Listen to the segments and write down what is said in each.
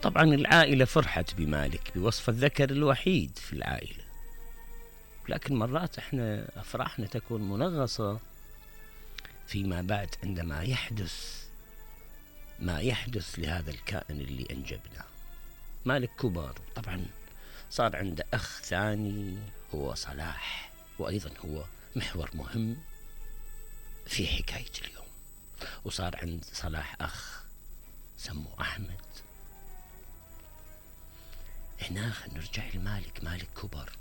طبعا العائلة فرحت بمالك بوصف الذكر الوحيد في العائلة، لكن مرات احنا افراحنا تكون منغصة فيما بعد عندما يحدث ما يحدث لهذا الكائن اللي انجبناه. مالك كبر، طبعا صار عنده اخ ثاني هو صلاح، وايضا هو محور مهم في حكاية اليوم. وصار عند صلاح اخ سموه احمد. هنا نرجع لمالك. مالك كبر،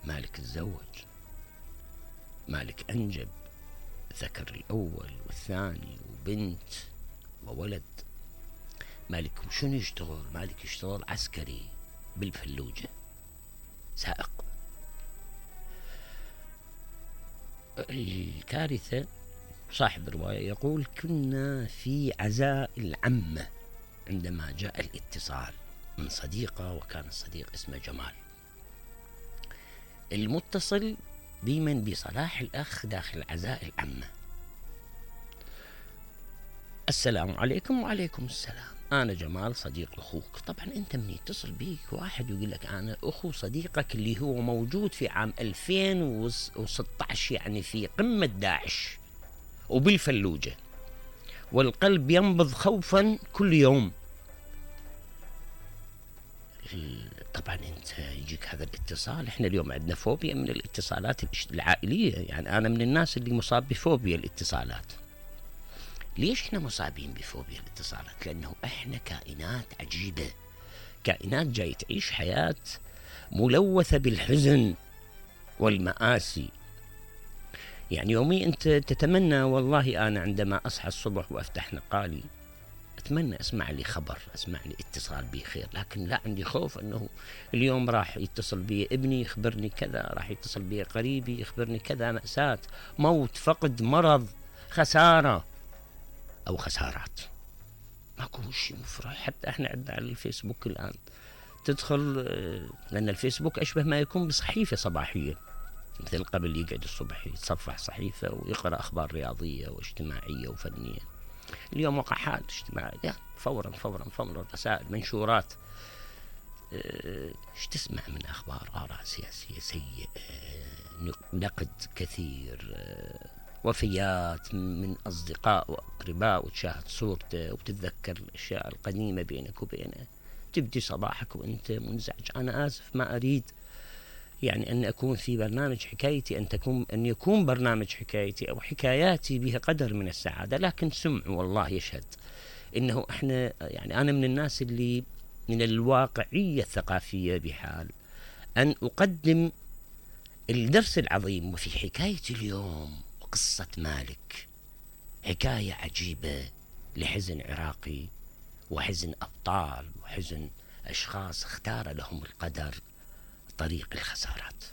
مالك تزوج، مالك انجب الذكر الاول والثاني وبنت وولد. مالك شنو يشتغل؟ مالك يشتغل عسكري بالفلوجة، سائق. الكارثة صاحب الرواية يقول: كنا في عزاء العمة عندما جاء الاتصال من صديقة، وكان الصديق اسمه جمال. المتصل بمن؟ بصلاح الأخ داخل عزاء العمة. السلام عليكم. وعليكم السلام، أنا جمال صديق أخوك. طبعا أنت من يتصل بيك واحد ويقول لك أنا أخو صديقك اللي هو موجود في عام 2016، يعني في قمة داعش وبالفلوجة، والقلب ينبض خوفا كل يوم. طبعا انت يجيك هذا الاتصال. احنا اليوم عندنا فوبيا من الاتصالات العائلية، يعني انا من الناس اللي مصاب بفوبيا الاتصالات. ليش احنا مصابين بفوبيا الاتصالات؟ لانه احنا كائنات عجيبة، كائنات جاي تعيش حياة ملوثة بالحزن والمآسي. يعني يومي انت تتمنى، والله انا عندما اصحى الصبح وافتح نقالي اتمنى اسمع لي خبر، اسمع لي اتصال بي خير، لكن لا، عندي خوف انه اليوم راح يتصل بي ابني يخبرني كذا، راح يتصل بي قريبي يخبرني كذا، مأساة، موت، فقد، مرض، خسارة او خسارات. ماكو شيء مفرح. حتى احنا عندنا على الفيسبوك الان تدخل، لان الفيسبوك اشبه ما يكون بصحيفة صباحية، مثل قبل يقعد الصبح يتصفح صحيفة ويقرأ اخبار رياضية واجتماعية وفنية. اليوم وقعات اجتماعية فورا فورا فورا، رسائل، منشورات. ايش تسمع من اخبار؟ آراء سياسية سيئة، نقد كثير، وفيات من اصدقاء واقرباء، وتشاهد صورته وتتذكر الاشياء القديمة بينك وبينه. تبدي صباحك وانت منزعج. انا اسف، ما اريد يعني أن أكون في برنامج حكايتي أن يكون برنامج حكايتي أو حكاياتي بها قدر من السعادة، لكن سمع والله يشهد إنه إحنا، يعني أنا من الناس اللي من الواقعية الثقافية بحال أن أقدم الدرس العظيم. وفي حكايتي اليوم قصة مالك، حكاية عجيبة لحزن عراقي، وحزن أبطال، وحزن أشخاص اختار لهم القدر طريق الخسارات.